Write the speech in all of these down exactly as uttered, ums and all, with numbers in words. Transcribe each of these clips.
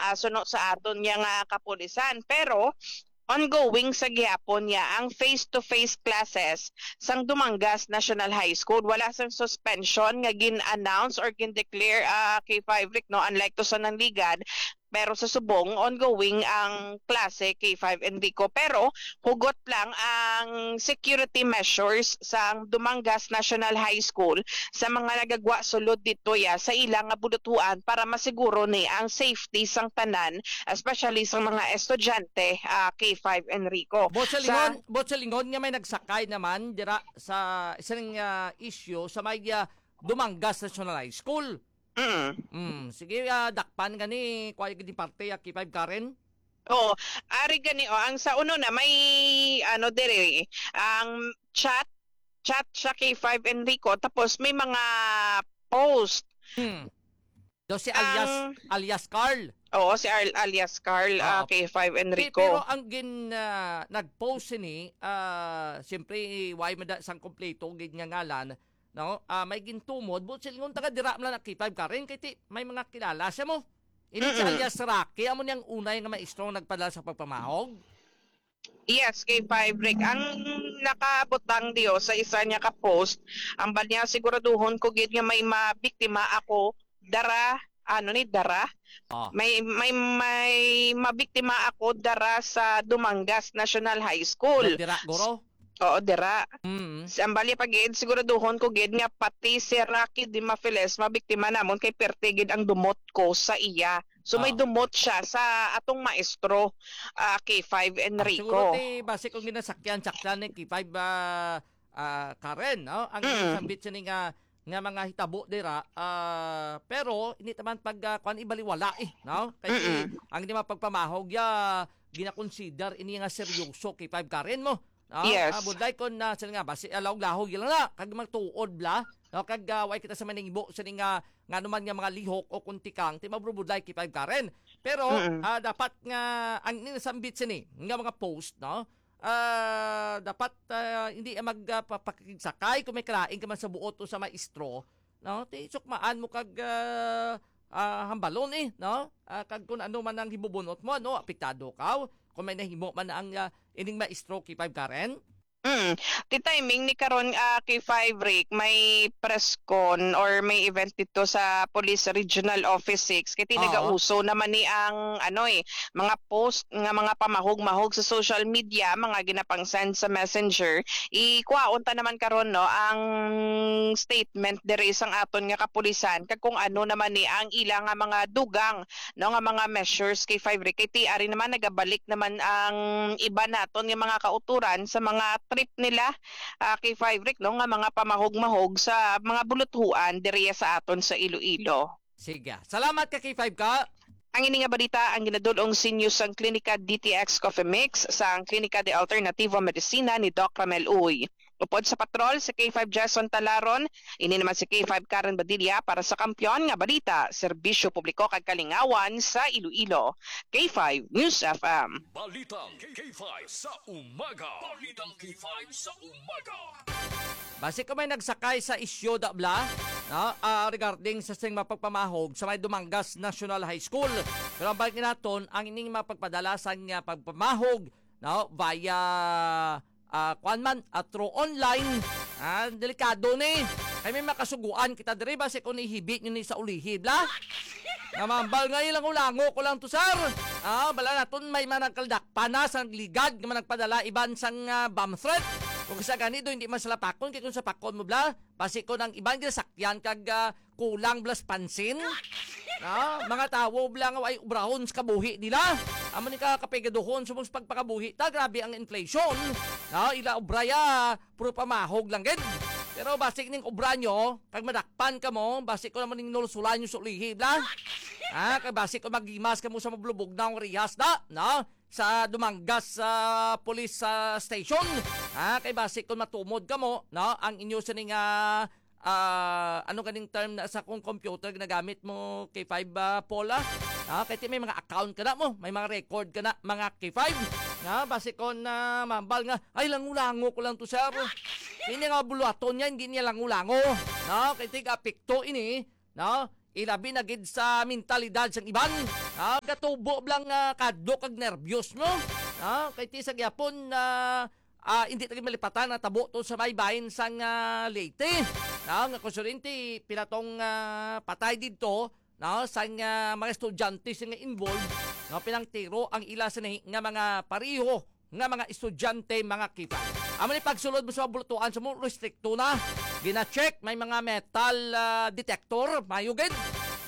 ah, suno sa aton niya nga kapulisan. Pero ongoing sa gihapon niya ang face-to-face classes sang Dumangas National High School. Wala sang suspension nga gin-announce or gin-declare, ah, K five Rick, no? Unlike to sa Nangligan, pero sa subong, ongoing ang klase, K five Enrico. Pero hugot lang ang security measures sang Dumangas National High School sa mga nagagwa sulod dito ya sa ila nga bulutuan para masiguro ni ang safety sang tanan, especially sa mga estudyante, ah, K five Enrico. Bot sa Sa lingon, bot sa lingon nga may nagsakay naman dira sa isang, ah, issue sa may, ah, Dumangas National High School. Mm. Mm, sige, ah, dakpan gani, kuha gani parte, ah, K five Karen. Oo, ari gani, oh, ang sa uno na may, ano, dire, ang chat, chat siya K five Enrico, tapos may mga post. Hmm. Do si alias, Ang alias Carl. Oo, si Al-, alias Carl, ah, Oo. K five Pe-, Enrico. Pero ang gin, ah, nag-post sini, ah, siyempre, why man da sang kompleto gid nga ngalan, no? Ah, may gintumod, but silingon taga dira man lang na K five Karen, kay ti, may mga kilala siya mo. Ini si Mm-mm. alias Rocky, amo niyang unay nga maestro nga nagpadala sa pagpamahog. Yes, K five Rick. Ang nakabutang diyo sa isa niya ka post, ang bal niya siguraduhon ko gid nga may mabiktima ako dara, ano ni dara? Oh. May, may, may mabiktima ako dara sa Dumangas National High School. Dira, guro? Oo, dira. Mm. Sa ambali pa gid, siguraduhon ko gid nga pati si Rocky Dimafiles mabiktima namon kay perte gid ang dumot ko sa iya. So, may Ah. dumot siya sa atong maestro, ah, K five Ah, Enrico. Siguro ti basi kung ginasakyan-sakyan ni K five, ah, ah, Karen, no? Ang Mm. sambit siya ni nga, nga mga hitabo dira, ah, pero hindi naman pag, ah, kuwan, ibaliwala eh, no? Kay Mm-mm. ang hindi mapagpamahog ya, ginakonsider ini nga seryoso K five Karen mo. No? Yes. Ah, budlay kon na sila nga basi, ah, lahog-lahog lang na kag magtuod bla, no? Kag, ah, way kita sa maningbo sini nga, nga naman nga mga lihok o kuntikang ti mabrubudlay K five Karen. Pero, Mm-mm. ah, dapat nga ang ini nasambit sini nga mga post, no? Ah, dapat, ah, hindi mag, ah, pa-, pakigsakay kung may kalain ka man sa buot o sa maestro, no? Ti sukmaan mo kag, ah, ah, hambalon eh, no? Ah, kag kung ano man ang hibubunot mo, ano, apektado ka kung may nahimo man ang, ah, ining maestro K five Karen? Mm. Ti timing ni karon, ah, K five Rick, may press con or may event dito sa Police Regional Office six. Kay ti Oo. nagauso naman ni ang, ano eh, mga post nga mga pamahog-mahog sa social media, mga ginapang-send sa messenger. Ikwaon ta naman karon, no, ang statement diri sang aton nga kapulisan kag kung ano naman ni ang ila nga mga dugang, no, nga mga measures K five Rick. Kay ti ari naman nagabalik naman ang iba naton nga mga kauturan sa mga trip nila, ah, K five Rick, no, nga mga pamahog-mahog sa mga buluthuan diri sa aton sa Iloilo. Sige. Salamat ka, K five ka. Ang ini nga balita ang ginadul-ong sa inyo sang Klinika D T X Coffee Mix, sang Klinika de Alternativo Medicina ni Doc Ramel Uy. Upod sa patrol si K five Jason Talaron, ini naman si K five Karen Badilla para sa Kampiyon nga Balita, Serbisyo Publiko kag Kalingawan sa Iloilo. K five News F M. Balitang K five sa umaga. Balitang K five sa umaga. Basi ko may nagsakay sa isyu da bla, no? Ah, regarding sa sing mapagpamahog sa may Dumangas National High School. Pero ang balik naton, ang ining mapagpadala sa nga pagpamahog, no? Via, ah, kuwan man, ah, through online. Ah, delikado ni. Kay may makasuguan kita diri, basi kung ihibi nyo ni sa ulihi, bla? Namambal nga ilango-lango ko lang to, sir. Ah, bala naton may managkaldakpan na sa ligad nga managpadala iban sang, ah, bomb threat. Kung sa gani do, hindi man sila pakon, kay kung sa pakon mo, bla, basi ko nang iban ginasakyan kag, ah, kulang blas pansin. No? Mga tawo bla nga ay ubrahon sa kabuhi nila. Amo ni ka kapegaduhon sa mga pagpakabuhi ta, grabe ang inflation. No? Ila obra ya, puro pamahog lang gid. Pero basi ning obra nyo, kag madakpan ka mo, basi ko naman ning nulsulan nyo sa ulihi, bla. Ah, kag basi ko magimas ka mo sa mablubog na ang rihas da, no? Sa Dumangas, ah, Police, ah, Station. Ah, kay basi kung matumod ka mo, no? Ang inyo sining, ah, ah, ano ganing term na sa kung computer ginagamit mo, K five, ah, Paula? Ah, kay ti may mga account ka na mo, may mga record ka na, mga K five. Ah, basi kung, ah, mambal nga, "Ay, lango-lango ko lang to, sir." Ini nga buluhaton niya, hindi niya lango-lango. No? Kay ti apekto ini, no? ilabi na gid sa mentalidad sang iban. Ah, gatubo lang, ah, kadlok kag nerbyos, no? Ah, kay ti sa gyapon na, ah, hindi ta gid malipatan ang tabo to sa may bahin sang, ah, Leyte. Ah, nga konsulente, pila tong, ah, patay didto, no, sang, ah, mga estudyante sing involved, no, pinangtiro ang ila sini nga mga pareho nga mga estudyante, mga kipay. Amo ni pagsulod mo sa mga bulutuan sa mo, restrikto na. Gina-check, may mga metal, ah, detector, mayo gid.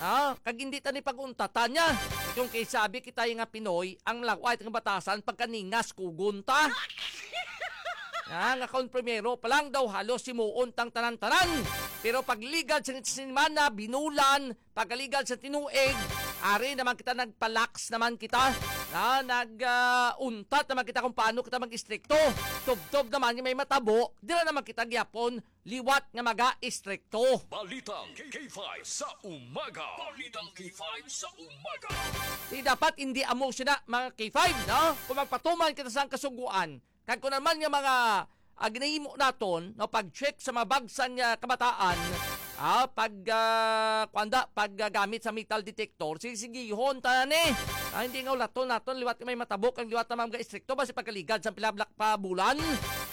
Ah, kag hindi ta ni pag-untatan niya. Kung kay sabi kita nga Pinoy, ang laway nga batasan pagkaningas kugon ta. Ah, nga kon primero pa lang daw halos simuon tang tanan-tanan. Pero pagligad sa semana, binulan, pagkaligad sa tinuig, ari naman kita, nagpalax naman kita. Ah, nag, ah, untat naman kita kung paano kita mag-istrikto. Tubtob naman nga may matabo, dira naman kita gyapon liwat nga maga-istrikto. Balitang K five sa umaga. Balitang K five sa umaga. Di dapat hindi amo sina, mga K five, no? Kung magpatuman kita sa kasuguan, kag kung naman nga mga, ah, ginahimo naton, no, pag-check sa mga bagsan nga kabataan, ah, pag, ah, kuanda, pag, ah, gamit sa metal detector, sisigihon ta ni. Ah, hindi nga ulaton naton, liwat may matabo, kag liwat naman mga istrikto, basi pagkaligad sa pila blak pa bulan.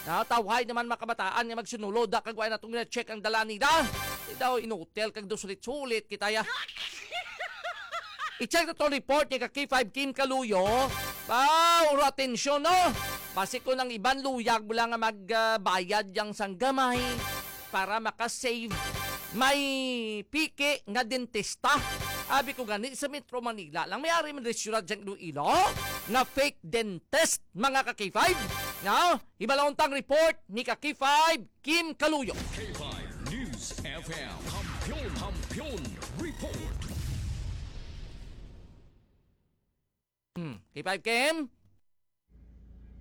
Ah, tawhay naman mga kabataan nga magsunulod, ah, kag wala natong check ang dala nila. Di daw inutel kag dusulit-sulit kita ya. I-check na to report ni ka K five Kim Kaluyo. Wow, uro atensyon, no? Basi kung ang iban luyag mo lang nga magbayad yang sang gamay para makasave. May piki nga dentista. Abi ko gani sa Metro Manila lang may ari man restaurant dyan Iloilo nga fake dentist, mga ka K five. No? Hibalon tang report ni ka K five Kim Kaluyo. K five News F M. Kampiyon, Kampiyon Report. Hmm. K five Kim?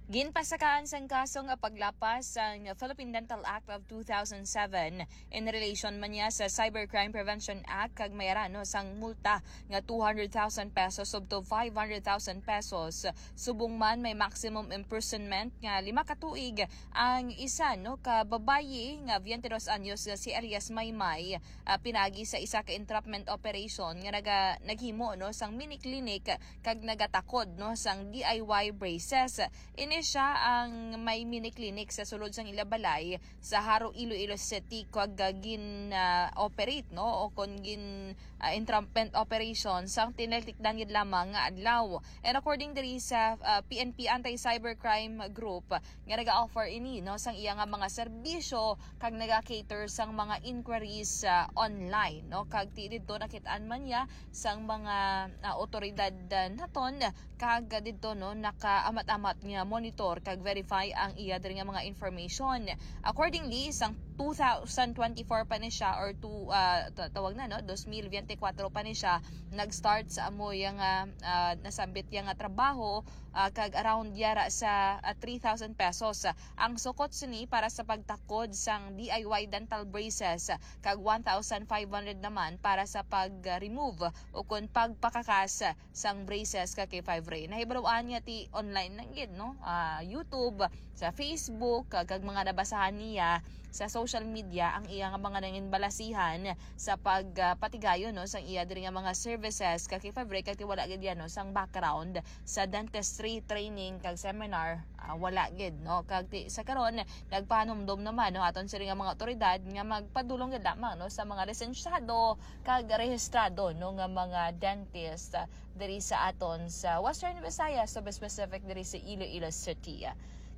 Ginpasakaan sang kaso nga paglapas sang Philippine Dental Act of two thousand seven in relation man niya sa Cybercrime Prevention Act kag may arano sang multa nga two hundred thousand pesos up to five hundred thousand pesos. Subong man may maximum imprisonment nga lima ka tuig ang isa, no, ka babayi nga twenty-two anyos nga si alias Maymay, ah, pinagi sa isa ka entrapment operation nga naga-, naghimo, no, sang mini clinic kag nagatakod, no, sang D I Y braces. Ini siya ang may mini clinic sa sulod sang ila balay sa Jaro, Iloilo City, kag, ah, gin, ah, operate, no, o kon gin, ah, entrapment operation sang tinitikdan gid lamang nga adlaw. And according diri sa, ah, P N P Anti-Cybercrime Group, nga naga-offer ini, no, sang iya nga mga serbisyo kag naga-cater sang mga inquiries, ah, online, no, kag ti didto nakit-an man niya sang mga, ah, otoridad, ah, naton, kag didto, no, nakaamat-amat nga monitor kag verify ang iya diri nga mga information. Accordingly, sang two thousand twenty-four pa ni siya or two, ah, ta-, tawag na, no, dos mil biyente kwatro pa ni siya nag-start sa amo iya nga, ah, nasambit iya nga trabaho, ah, kag around yara sa, ah, three thousand pesos. Ang sukot sini para sa pagtakod sang D I Y dental braces, kag one thousand five hundred naman para sa pag-remove o kon pagpakakas sang braces ka K five Ray. Nahibaluan niya ti online lang gid, no? Ah, YouTube, sa Facebook, kag, kag mga nabasahan niya sa social media ang iya nga mga nanginbalasihan sa pag, ah, patigayon, no, sang iya diri nga mga services ka K five Ray, kag ti wala gid yan, no, sang background sa dentistry training kag seminar, ah, wala gid, no? Kag ti, sa karon, nagpahanumdom naman, no, aton sini nga mga otoridad nga magpadulong gid lamang, no, sa mga lisensyado kag rehistrado, no, nga mga dentist, ah, diri sa aton sa Western Visayas, to be specific, diri sa Iloilo City.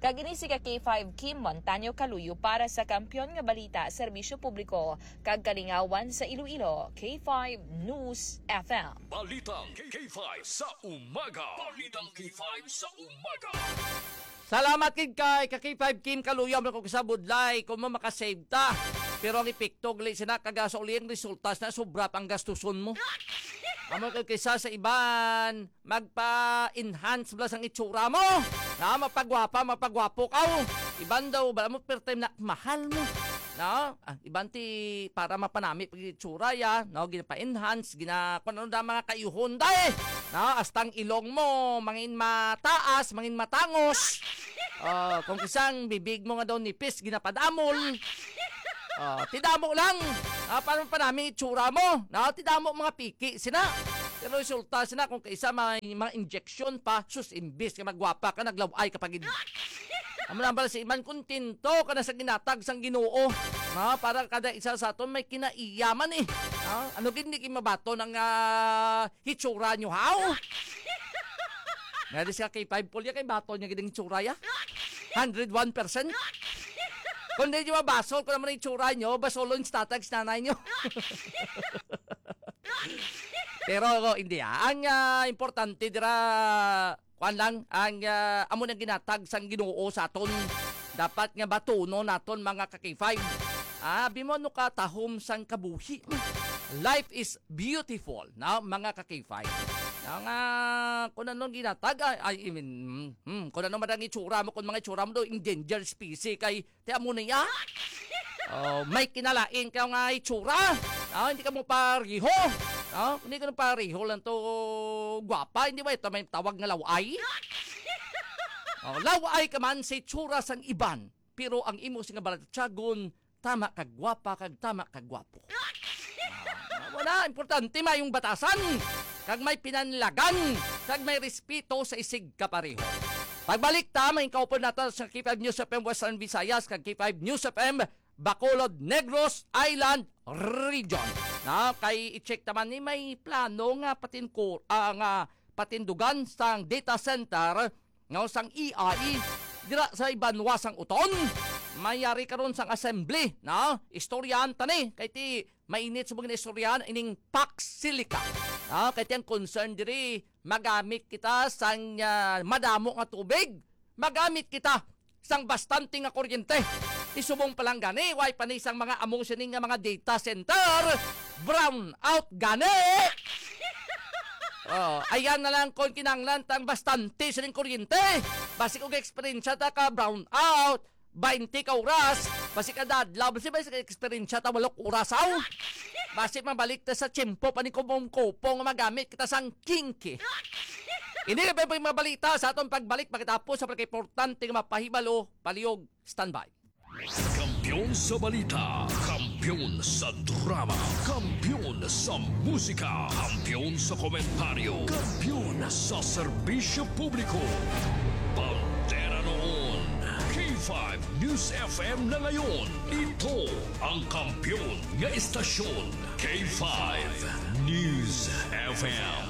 Kag ini si ka K five Kim Montaño Kaluyo para sa Kampiyon nga Balita, Serbisyo Publiko, kag Kalingawan sa Iloilo, K five News F M. Balitang K five sa umaga. Balitang K five sa umaga. Salamat gid kay ka K five Kim Kaluyo, man ko sa budlay kung mo makasave ta. Pero ang epekto gali sina kaga sa uli ang resulta na sobra pang gastuson mo. Amo kay kaysa sa iban, magpa-enhance bala sang itsura mo. Na mapagwapa, mapagwapo ka. Iban daw, bala mo, per time na mahal mo. No? Ah, iban ti para mapanami pag itsura ya, no? Ginapa-enhance, gina-, kung ano na mga kayuhon, day. No? Hasta ang ilong mo, mangin mataas, mangin matangos. Oh, kung kisang bibig mo nga daw nipis, ginapadamol. Oh, ti damo lang. Ah, paano pa namin itsura mo? Na, ti damo mga piki sina. Pero resulta sina kung kaisa may mga injection pa, sus, imbis nga magwapa ka, naglaw-ay ka pa gid. Amo na bala si Iman, kontento ka na sa ginatag sang Ginoo. Na, para kada isa sa aton may kinaiyaman eh. Ah, ano gid, hindi kayo mabato ng ah, hitsura nyo, haw? Nga di siya kay five Paul ya, kay bato niya gid ang hitsura ya. Hundred one percent. Kung di nyo mabasol, kung naman ang hitsura nyo, basolon sa tatag sa nanay nyo. Pero, hindi, ah. Ang ah, importante dira, kuan lang, ang ah, amo nang ginatag sang Ginoo sa aton. Dapat nga batunon naton, mga ka-K five. Ah, abi mo, ano ka, tahom sang kabuhi. Life is beautiful, no, mga ka-K five. Nga, kung anong ginatag, ay, ay, I mean, hmm, hmm, kung ano man ang itsura mo, kung mga itsura mo do, endangered species, kay, ti amo na ya. Oh, may kinalain ka nga itsura. Ah, hindi ka mo pareho. Ah, hindi ka mo pareho lang to gwapa. Hindi ba ito may tawag nga laway? Oh, laway ka man si tsura sang iban, pero ang imo sing balatyagon, tama kag gwapa kag tama kag gwapo. Ah, wala, importante mayong batasan kag may pinanlagan kag may respeto sa isig kapareho. Pagbalik ta, may kaupod nato sa K five News F M Western Visayas kag K five News F M Bacolod, Negros Island Region. Na kay i-check naman ni may plano nga patinkur ah, nga patindugan sang data center nga sang A I dira sa ibanwa sang uton. Mayari karon sang assembly, na istoryahan ta ni kay ti mainit sa mga istoryahan ining Pax Silica. Na kay ti ang concern diri, magamit kita sang ah, madamo nga tubig, magamit kita sang bastante nga kuryente. Isubong pa lang gani, way pa ni sang mga amo sini nga mga data center, brown out gani. Oh, ayan na lang kung kinanglan tang bastante sining kuryente. Basi kung eksperyensya ta ka brown out, twenty ka oras, basi kada adlaw, basi, basi ka eksperyensya ta walok oras, aw. Basi mabalik ta sa tiyempo pa ni Kupong-Kupong nga magamit kita sang kinki. Hindi na pa yung mabalita sa atong pagbalik pagkatapos sa pagkaimportante nga mapahibalo, palihog, standby. Kampiyon sa balita, kampiyon sa drama, kampiyon sa musika, kampiyon sa komentaryo, kampiyon sa serbisyo publiko. Bandera noon, K five News F M na ngayon. Ito ang kampiyon nga estasyon, K five News F M.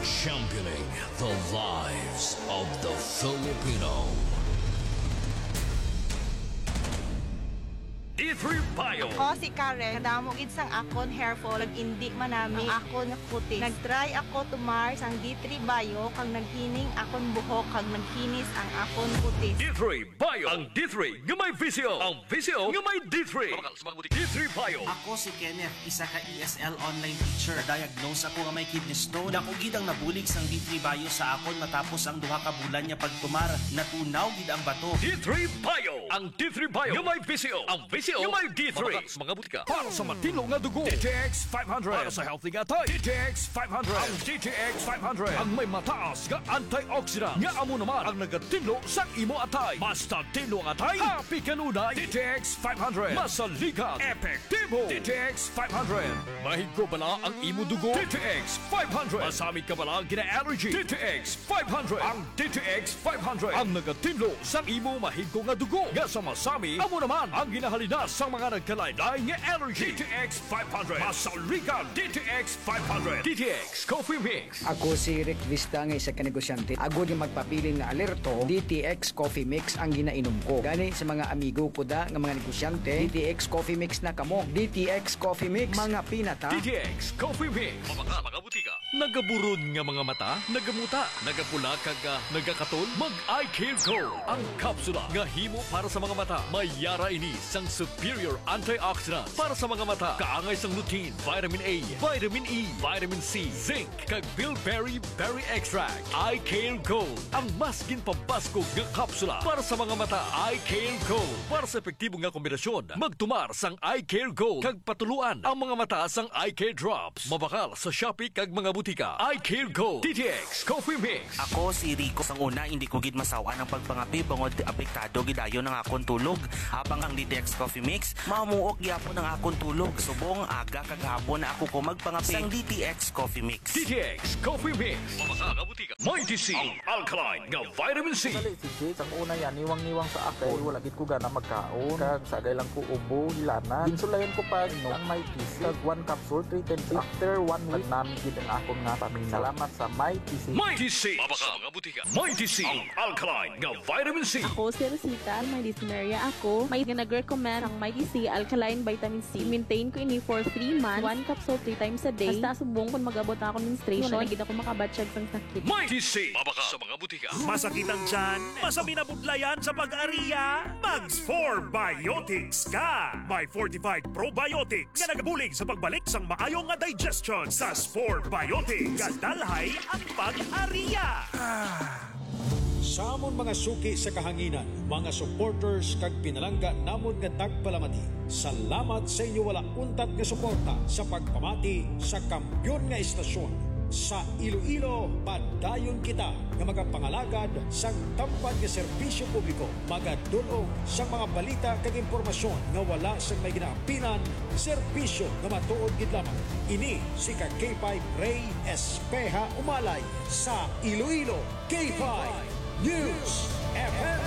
Championing the lives of the Filipino. D three Bio. Ako si Karen. Kadamo gid sang akon hair fall, nag-indi manami ang akon kutis. Nag-try ako tumar sang D three Bio, kag naghining akon buhok, kag naghinis ang akon kutis. D three Bio. Ang D three nga may visyo. Ang visyo nga may D three. Mabakal sa mga butik. D three Bio. Ako si Kenneth, isa ka E S L online teacher. Na-diagnose ako nga may kidney stone. Dako gid ang nabulig sang D three Bio sa akon matapos ang duha ka bulan nga pagtumar. Natunaw gid ang bato. D three Bio. Ang D three Bio nga may visyo. Ang visyo nga may D three. Mabakal sa mga butika. Para sa matinlo nga dugo, D T X five hundred. Para sa healthy nga atay, D T X five hundred. Ang D T X five hundred ang may mataas nga antioxidant nga amo naman ang nagatinlo sa imo atay. Basta tinlo ang atay, happy kanunay. D T X five hundred. Masaligan, epektibo. D T X five hundred. Mahigko bala ang imo dugo? D T X five hundred. Masami ka bala gina-allergy? D T X five hundred. Ang D T X five hundred ang nagatinlo sang imo mahigko nga dugo nga sa masami, amo naman ang ginahalina sang mga nagkalain-lain nga allergy. D T X five hundred. Masaligan, D T X five hundred. D T X Coffee Mix. Ako si Rick Vista nga isa ka negosyante. Agod nga magpabilin nga alerto, D T X Coffee Mix ang ginainom ko. Gani sa mga amigo ko da nga mga negosyante, D T X Coffee Mix na kamo. D T X Coffee Mix, mga pinata. D T X Coffee Mix. Mabakal, mga butika. Nagaburon nga mga mata, nagamuta, nagapula kag, ah, nagakatol? Mag Eye Care Gold, ang kapsula nga himo para sa mga mata. May yara ini sang superior antioxidants para sa mga mata. Kaangay sang lutein, vitamin A, vitamin E, vitamin C, zinc, kag bilberry berry extract. Eye Care Gold, ang mas ginpabaskog nga kapsula para sa mga mata. Eye Care Gold. Para sa epektibo nga kombinasyon, magtumar sang Eye Care Gold kag patuluan ang mga mata sang Eye Care Drops. Mabakal sa Shopee kag mga butika. Eye Care Gold, D T T X Coffee Mix. Ako si Rico. Sang una, hindi ko gid masaw-an ang pagpangape bangod apektado gid dayon ang akon tulog. Habang ang D T X Coffee Mix, mamuok gyapon ang akon tulog. Subong aga kag hapon na ako ko magpangapit sang D T X Coffee Mix. D T X Coffee Mix. Mabasa nga butika. Mighty C, ang alkaline nga vitamin C. Dali, si Jade, ang una yan, niwang-niwang sa ako. Wala gid ko gana magkaon. Kag sagay lang ko ubo, hilana. Ginsulayan ko pa, no, ang Mighty C. Kag one capsule, three times. After one week, nami gid ang akon nga paminaw. Salamat sa Mighty C. Mighty C. Mabasa nga butika. Mighty C, ang alkaline nga vitamin C. Ako si Rosita, may dysmenorrhea ako. May nga nag-recommend ang Mighty C alkaline vitamin C. Maintain ko ini for three months. One capsule three times a day. Hasta subong kung mag-abot na akong menstruation, wala na gid ako makabatyag sang sakit. Mighty C, mabaka sa mga butika. Masakit ang tiyan? Masabi na budlayan sa pag-ariya? Mag Spore Biotics ka! May fortified probiotics nga nagabulig sa pagbalik sang maayo nga digestion. Sa Spore Biotics, kadalhay ang pag-ariya. Sa amon mga suki sa kahanginan, mga supporters kag pinalangga namon nga tagpalamati, salamat sa inyo wala untat nga suporta sa pagpamati sa kampiyon nga estasyon. Sa Iloilo, padayon kita nga magapangalagad sang tampad nga serbisyo publiko, magadul-ong sang mga balita kag impormasyon nga wala sang may ginaapinan, serbisyo nga matuod gid lamang. Ini si ka K five Ray Espeha Umalay sa Iloilo. K five News F M.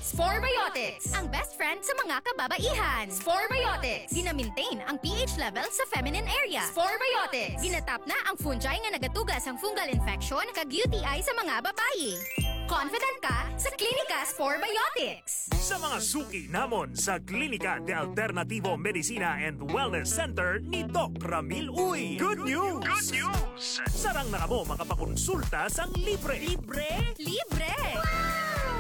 Spore Biotics, ang best friend sa mga kababaihan. Spore Biotics, gina-maintain ang P H level sa feminine area. Spore Biotics, ginatap na ang fungi nga nagatuga sang fungal infection kag U T I sa mga babayi. Confident ka sa Klinika Spore Biotics. Sa mga suki namon sa Klinika de Alternativo Medicina and Wellness Center ni Doc Ramil Uy. Good news! Good news! Sarang na kamo makapakonsulta sang libre. Libre? Libre!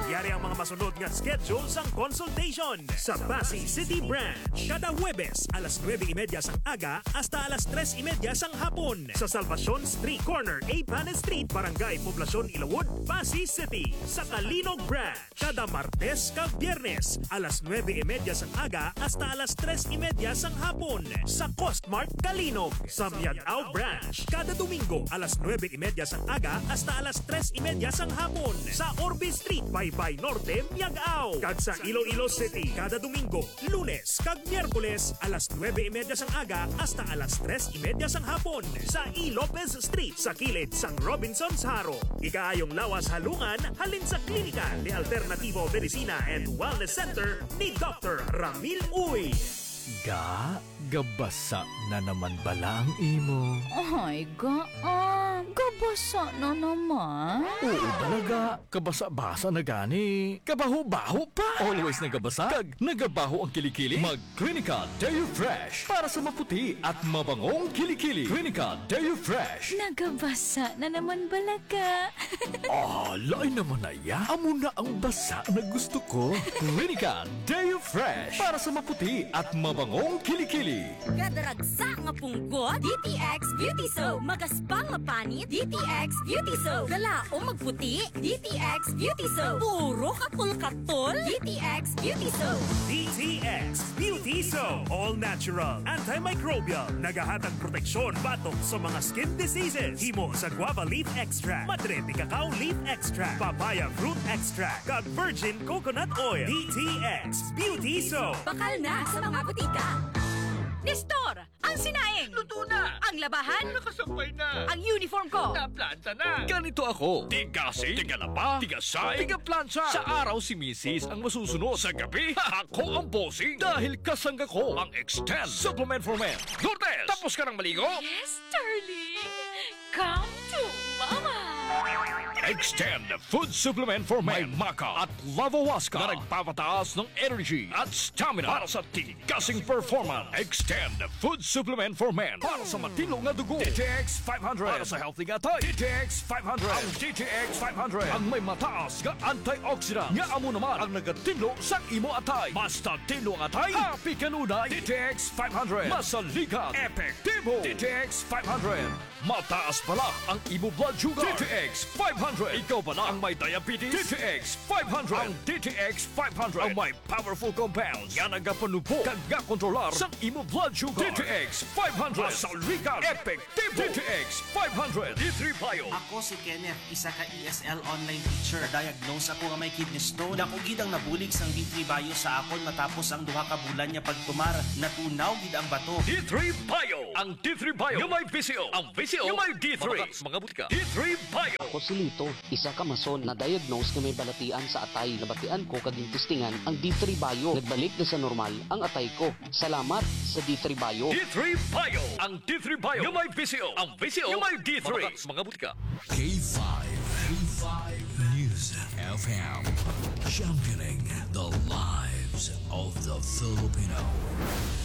Yari ang mga masunod nga schedule sang consultation. Sa Passi City Branch, kada Huwebes, alas nuebe y media sang aga hasta alas tres y media sang hapon. Sa Salvacion Street, corner Eighth Street, Barangay Poblacion, Ilawod, Passi City. Sa Calinog Branch, kada Martes kag Biyernes, alas nuebe y media sang aga hasta alas tres y media sang hapon. Sa Costmart Calinog, sa Miag-ao Branch, kada Domingo, alas nuebe y media sang aga hasta alas tres y media sang hapon. Sa Orbe Street, Baybay Norte, Miag-ao. Kag sa Iloilo City, kada Domingo, Lunes kag Miyerkules, alas nuebe y media sang aga hasta alas tres y media sang hapon, sa E. Lopez Street, sa kilid sang Robinsons Jaro. Ikaayong lawas halungan halin sa Klinika de Alternativo Medicina and Wellness Center ni Doctor Ramil Uy. Ga, gabasa na naman bala ang imo? Ay, ga, ah, gabasa na naman. Oo, balaga. Kabasa-basa na gani. Kabaho-baho pa. Always nagabasa kag nagabaho ang kilikili. Mag Clinica Deo Fresh para sa maputi at mabangong kilikili. Clinica Deo Fresh. Nagabasa na naman bala ka. Ah, lain naman na ya. Amo na ang basa na gusto ko. Clinica Deo Fresh para sa maputi at mabangong kilikili. Kadaragsa nga punggot, D T X Beauty Soap. Magaspang nga panit, D T X Beauty Soap. Galaom magputi, D T X Beauty Soap. Puro katol-katol, D T X Beauty Soap. D T X Beauty Soap. All natural, antimicrobial. Nagahatag proteksyon batok sa mga skin diseases. Himo sa guava leaf extract, madre de cacao leaf extract, papaya fruit extract, kag virgin coconut oil. D T X Beauty Soap. Bakal na sa mga butika. Nestor, ang sinaing. Luto na. Ang labahan. Nakasampay na. Ang uniform ko. Naplanta na. Ganito ako. Tigasing, tigalaba, tigasay, tigaplansa. Sa araw si misis ang masusunod. Sa gabi, ako ang bossing. Dahil kasangga ko ang Extend Supplement for Men. Lourdes, tapos ka nang maligo? Yes, darling. Come to Mama. Extend Food Supplement for Men. May maca at lavawaska na nagpapataas ng energy at stamina para sa tigasing performance. Extend Food Supplement for Men para sa matinlo nga dugo. D T X five hundred para sa healthy nga atay. D T X five hundred. Ang D T X five hundred ang may mataas nga antioxidant nga amo naman ang nagatinlo sa imo atay. Basta tinlo ang atay, happy kanunay. D T X five hundred. Masaligan, epektibo. D T X five hundred. Mataas bala ang imo blood sugar. D T X five hundred. Ikaw bala ang may diabetes? D T X five hundred. Ang D T X five hundred ang may powerful compounds nga nagapanubo kag gakontrolar sa imo blood sugar. D T X five hundred. Masaligan. Epektibo. D T X five hundred. D three Bio. Ako si Kenneth, isa ka E S L online teacher. Na-diagnose ako nga may kidney stone. Dako gid ang nabulig sang D three Bio sa akon matapos ang duha ka bulan nga pagtumar. Natunaw gid ang bato. D three Bio. Ang D three Bio nga may V C O. Ang V C O nga may D three. Mga, mga butika. D three Bio. Ako si Lito, isa ka mason na diagnose nga may balatian sa atay. Nabatian ko kag gintistingan ang D three Bio. Nagbalik na sa normal ang atay ko. Salamat sa D three Bio. D three Bio. Ang D three Bio nga may V C O. Ang V C O nga may D three. Mga, mga butika. K five. K five News F M. Championing the lives of the Filipino.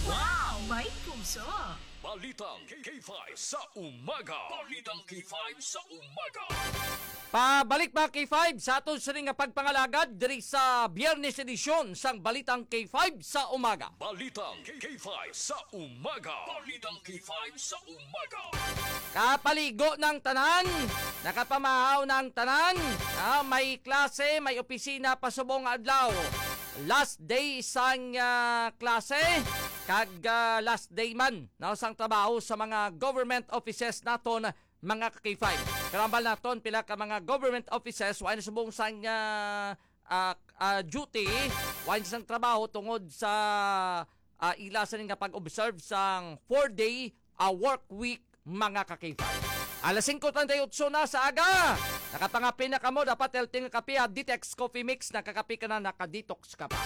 Wow! May puso! Balitang K five sa umaga. Balitang K five sa umaga. Pabalik, mga K five, sa aton sini nga pagpangalagad diri sa Biyernes edisyon sang Balitang K five sa umaga. Balitang K five sa umaga. Balitang K five sa umaga. Kapaligo ng tanan, nakapamahaw ng tanan, ah, may klase, may opisina pa subong adlaw. Last day sang, ah, klase, kag, ah, last day man, no, sang trabaho sa mga government offices naton, mga ka-K five. Karambal naton, pila ka mga government offices, wa na subong sang, ah, ah, ah, duty, wa na sang trabaho tungod sa, ah, ila sini nga pag-observe sang four-day, ah, work week, mga ka-K five. Alas singko treinta y ocho na sa aga. Nakapangapin na kamo, dapat healthy nga kape, ha. Detox Coffee Mix, nakakape ka na, naka-detox ka pa.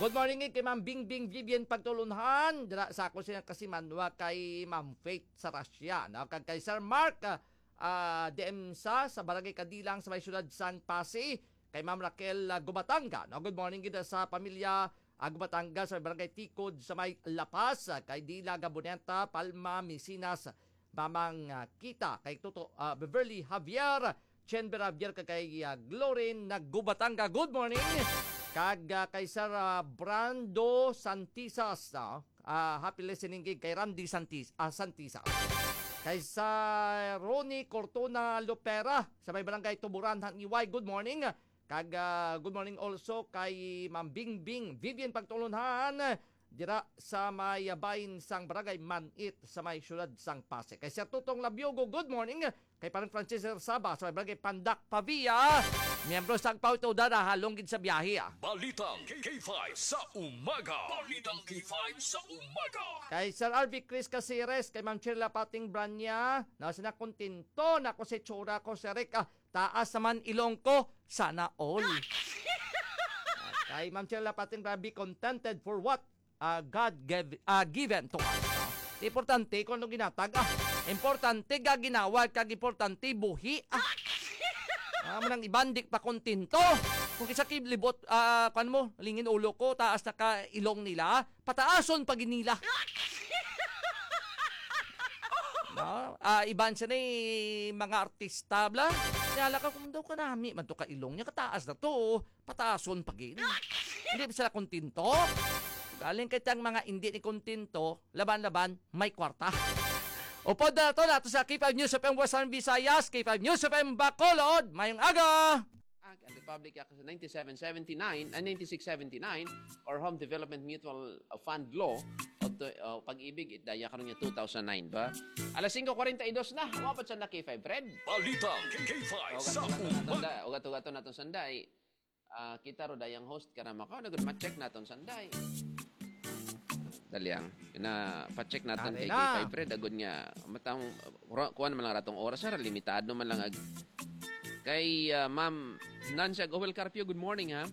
Good morning, eh, kay Ma'am Bingbing Vivian Pagtulunhan. Dira sa ako siya kasi manwa kay Ma'am Faith Sarasya, no? Kag kay Sir Mark, ah, ah, D M sa, sa Barangay Kadilang, sa may siyudad sang Passi. Kay Ma'am Raquel, ah, Gubatanga, no? Good morning gid sa pamilya, ah, Gubatanga, sa Barangay Tikod, sa may La Paz. Ah, kay Dila Gaboneta, Palma, Misinas, Mamang, ah, Kita, kay Toto, ah, Beverly Javier, Chen Vera Javier, kag kay, ah, Glorin Naggubatanga. Good morning. Kag, ah, kay Sir, ah, Brando Santisas, no? Ah, happy listening gig kay Randy Santis-, ah, Santisas. Kay sa Ronnie Cortona Lopera, sa may barangay Tuburan, Haniway. Good morning. Kag, ah, good morning also kay Ma'am Bingbing Vivian Pagtulunhan, dira sa may, ah, bahin sang Barangay Manit sa may siyudad sang Passi. Kay Sir Tutong Labiogo, good morning. Kay Parang Francis Saba sa may Barangay Pandak, Pavia. Miyembro sang Pauto Dada, halong gid sa biyahe, ah. Balitang K five sa umaga. Balitang K five sa umaga. Kay Sir R V Chris Caceres, kay Ma'am Chirla Pating Branya, na sina kontento na ko si Chura ko, Sir Rick, ah, taas naman ilong ko, sana all. Ah, kay Ma'am Chirla Pating Branya, be contented for what, ah, God gave, ah, given to us. Di importante kung ano ginatag, ah. Importante ga ginawa, kag importante buhi, ah. Ah, mo nang iban, di pa kontento. Kung kisa kay libot, ah, kwan mo, lingin ulo ko, taas na ka ilong nila, pataason pa gid nila. No? Ah, iban siya ni mga artista, bla. Kaya lang ka, kung daw kanami, man to ka ilong niya, kataas na to, pataason pa gid. Hindi ba sila kontento? Galing kay tiyang mga hindi ni kontento, laban-laban, may kwarta. Upod na to, nato sa K five News F M Western Visayas, K five News F M Bacolod. Mayong aga! Act and Republic Act ninety-seven seventy-nine and ninety-six seventy-nine or Home Development Mutual Fund Law of the, uh, Pag-ibig, it daya karon nga two thousand nine ba? Alas singko kwarenta y dos na, wa pa siya na K five, Fred. Balita K five sa ugat-ugat naton umaga. Sanda, ugat-ugat naton sanda, eh. Ah, kita ro dayang host ka na maka, nagud ma-check naton sanday. Dalyang, na pa-check naton kay K five Fred, agud nga matang kuan man lang ratong oras, ha, limitado man lang ag-, kay, ah, Ma'am Nancy Agohel Carpio, good morning, ha.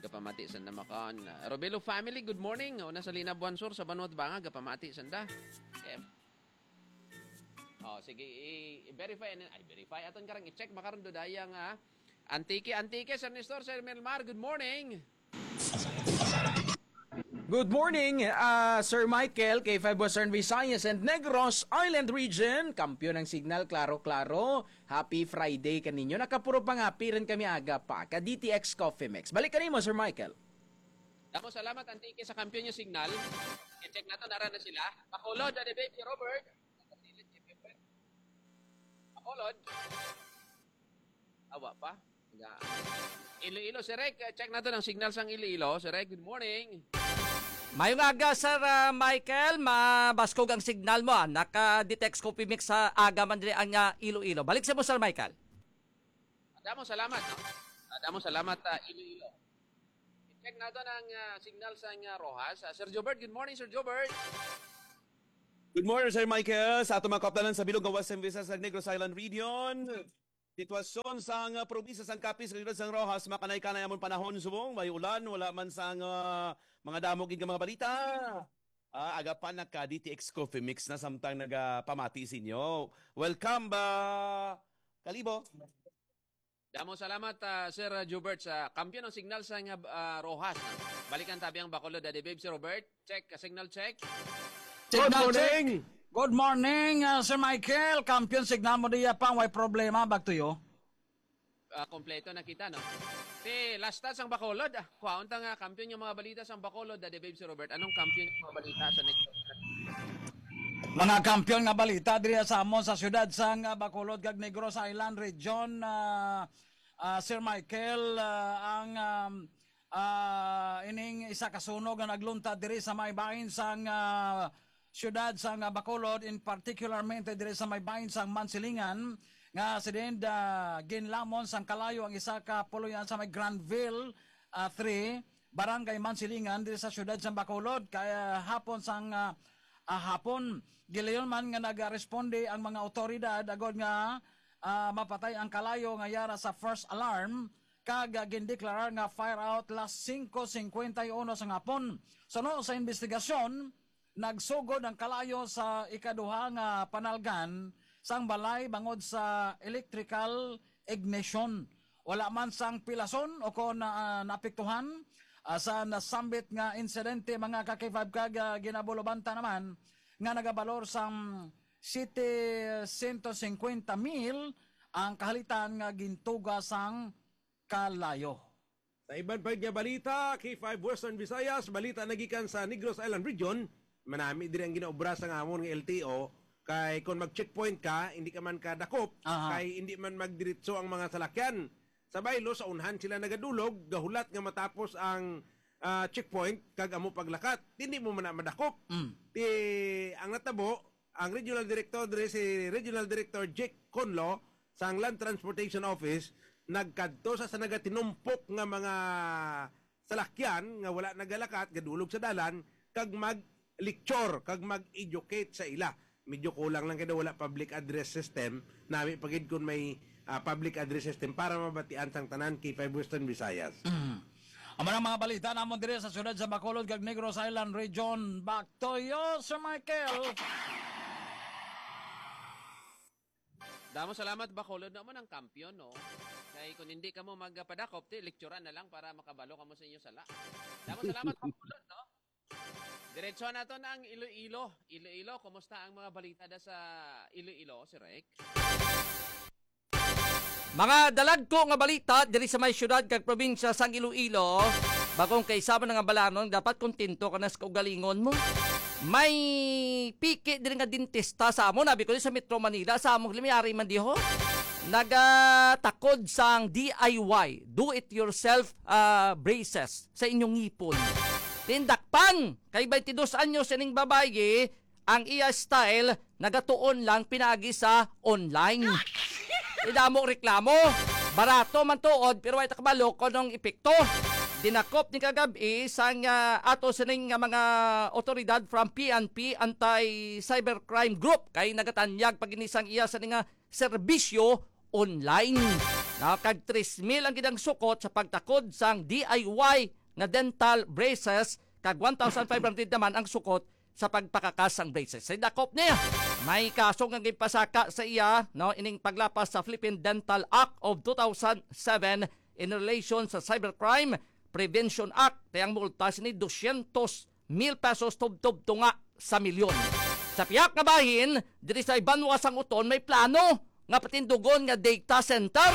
Gapamati sa namakan. Ah, Robelo family, good morning. Una sa Lina Buansor sa Banwa Banga, gapamati sanda. Okay. Oh, sige, i-, i-verify, ano, ay, verify. Aton karang i-check, makaroon do dayang, ah, Antique, Antique, San Nestor, Sir Melmar, good morning. Good morning, ah, Sir Michael, K five Western Visayas and Negros Island Region. Kampiyon ang signal, klaro, klaro. Happy Friday kaninyo. Nakapuro pangapi rin kami aga pa. Ka D T X Coffee Mix. Balik kanimo, Sir Michael. Damo salamat, Antique, sa kampiyon yung signal. I-check nato, nara na sila. Bacolod, Daddy Baby Robert. Bacolod. Ah, Wa pa? Ga-, Iloilo, Sir Rec, uh, check nato ang signal sang Iloilo. Sir Rec, good morning. Mayong aga, Sir, uh, Michael. Mabaskog ang signal mo, ah. Naka-detect ko pimik sa aga man diri ang, uh, Iloilo. Balik sa mo, Sir Michael. Damo salamat, no? Ah, damo salamat, ah, Iloilo. Check nato ang, ah, signal sang, ah, Roxas. Ah, Sir Jobert, good morning, Sir Jobert. Good morning, Sir Michael. Sa atong mga kaupdanan sa bilog nga Western Visayas, sa Negros Island Region, sitwasyon sa nga probinsya sang Capiz, sa siyudad sang Roxas, makanay-kanay amon panahon subong may ulan, wala man sang, ah, mga damo gid nga mga balita. Ah, aga pa naka D T X Coffee Mix na samtang nagapamati sa inyo. Welcome ba, Kalibo? Damo salamat, ah, Sir Jubert, sa kampiyon ang signal sa nga, ah, Roxas. Balikan tabi ang Bacolod, Daddy Babe, Sir Robert. Check, ah, signal check. Good Signal check. morning. Good morning, ah, Sir Michael. Kampiyon signal mo diya pa, way problema, back to you. Ah, kompleto na kita, no? Te, last touch ang Bacolod. Ah, kuhaon ta nga kampiyon yung mga balita sa Bacolod, Daddy Babe, Sir Robert. Anong kampiyon yung mga balita sa next? Mga kampiyon nga balita diri sa amon sa siyudad sang, ah, Bacolod kag Negros Island Region, ah, ah, Sir Michael, ah, ang, um, ah, ining isa ka sunog nga nagluntad diri sa may bahin sang, ah, siyudad sang, ah, Bacolod, in particularmente diri sa may bahin sang Mansilingan, nga si Dend, ah, ginlamon sang kalayo ang isa ka puloy-anan sa may Granville, ah, three, Barangay Mansilingan, diri sa siyudad sang Bacolod. Kaya hapon sang, ah, ah, hapon, gilayon man nga nagaresponde ang mga awtoridad agod nga, ah, mapatay ang kalayo nga yara sa first alarm, kag, ah, gindeklarar nga fire out las singko singkwenta y uno sang hapon. Suno sa investigasyon, nagsugod ang kalayo sa ikaduha nga panalgan sang balay bangod sa electrical ignition. Wala man sang pilason o kon na, ah, naapektuhan, ah, sa nasambit nga insidente, mga ka-K five, kag, ah, ginabulobanta naman nga nagabalor sang setecientos cincuenta mil ang kahalitan nga gintuga sang kalayo. Sa iban pa nga balita, K five Western Visayas, balita nagikan sa Negros Island Region, manami diri ang ginaobra sa amon nga L T O, kay kon mag-checkpoint ka, hindi ka man kadakop, Aha. kay hindi man magdiretso ang mga salakyan. Sa baylo, sa unhan sila nagadulog, gahulat nga matapos ang, ah, checkpoint, kag amo paglakat. Hindi mo man na madakop. Mm. Ti, ang natabo, ang regional director diri, si Regional Director Jake Conlo sang Land Transportation Office, nagkadto sa, sa nagatinumpok nga mga salakyan nga wala nagalakat, gadulog sa dalan, kag mag-lecture, kag mag-educate sa ila. Medyo kulang lang kay daw wala public address system, nami pa gid kun may, ah, public address system para mabatian sang tanan, K five Western Visayas. Mm. Amo ang mga balita namon diri sa siyudad sa Bacolod kag Negros Island Region. Back to you, Sir Michael. Damo salamat, Bacolod. Amo ang kampiyon, no? Kay kung hindi kamo magpadakop, ti, lecturean na lang para makabalo kamo sa inyo sala. Damo salamat, Bacolod, no? Diretso nato na ang Iloilo. Iloilo, kumusta ang mga balita da sa Iloilo, Sir Rec? Mga dalagko nga balita diri sa may siyudad kag probinsya sang Iloilo. Bagong kaisama na nga balanon, dapat kontento ka na sa kaugalingon mo. May piki diri nga dentista sa amon, abi ko, sa Metro Manila, sa among limayari man diho. Nagatakod sang D I Y, do it yourself, ah, braces sa inyong ngipon. Tindakpan kay twenty-dos anyos ining babayi, ang iya style nagatuon lang pinaagi sa online. Idamo reklamo. Barato man tuod, pero way ta kabalo kung anong epekto. Dinakop ni kagab-i sang, ah, ato sining nga mga otoridad from P N P Anti-Cybercrime Group kay nagatanyag pa gid ni sang iya sa nga serbisyo online. Na kag tres mil ang gidang sukot sa pagtakod sang D I Y nga dental braces, kag one thousand five hundred naman ang sukot sa pagpakakas sang braces. Sa dakop niya, may kaso nga ginpasaka sa iya, no, ining paglapas sa Philippine Dental Act of two thousand seven in relation sa Cybercrime Prevention Act, kay ang multa sini dosyentos mil pesos tubtob tunga sa milyon. Sa pihak nga bahin, diri sa banwa sang Oton may plano nga patindugon nga data center.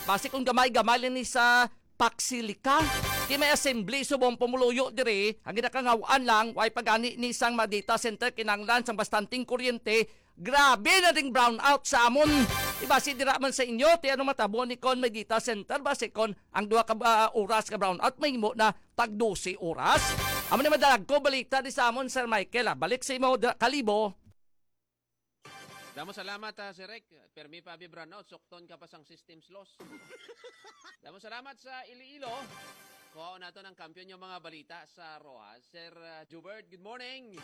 Basi kung gamay-gamay lang ni sa Paxilica. Di may assembly subong pumuluyo diri, ang ginakangaw-an lang, way pagani ni sang mga data center kinanglan sang bastanting kuryente. Grabe na ding brownout sa amon. Ibasi dira man sa inyo, ti ano matabo ni kon may data center, basi kon ang duha ka, ah, oras ka brownout, mahimo na tag dose oras. Amo ni madalagko balita di sa amon, Sir Michael, ah. Balik sa imo, da-, Kalibo. Damo salamat, ah, Sir Rick. Permi pa abi brownout, sukton ka pa sang system's loss. Damo salamat sa Iloilo. Kuhaon nato ng kampiyon yung mga balita sa Rojas. Sir, ah, Jubert, good morning.